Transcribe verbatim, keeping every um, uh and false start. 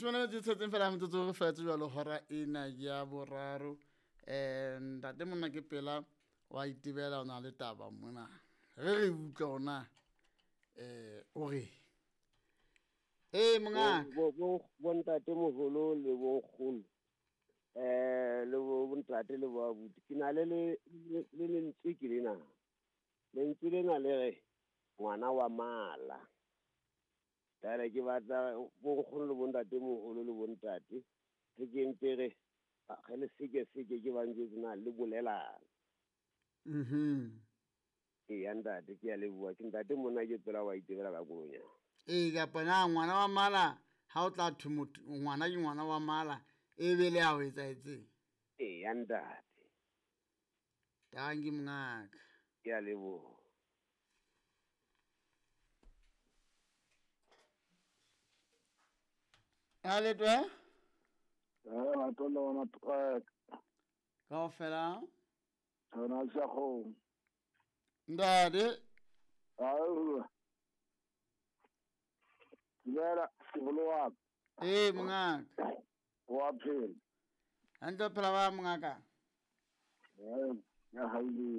Leshome le metso e tsheletseng fela metsotso re fetse jwalo hora ena ya boraro. Um ntate monna ke pela wa itebela o na le taba mona. Re re utlwa ona eh o re. Ee mongaka. Bo bo bo ntate moholo le bo nkgono. Eh le bo ntate le bo abuti. Ke na le le le lentswe ke lena. Lentswe lena le re ngwana wa mala. Tare ke batla bo nkgono le bo ntate moholo le bo ntate. Re ke ntse re re le seke seke ke ba njwetse na le bolelang. Mhm. Ee ya ntate ke a leboha. Ke ntate monna ke tsela wa itebela ka kolonya. Ee kapa na ngwana wa mala ha o tla thwe motho ngwana ke ngwana wa mala e be le a o etsahetseng. Ee ya ntate. Tanki mongaka. Ke a leboha. A letwe? Eh matolo wa matwek. Kaofela? Tsona sa go. Ntate. Au. Dumela, sebolo wa ka. Ee mongaka. Wa phela. Hantle phela ba mongaka. Eh, ya haile.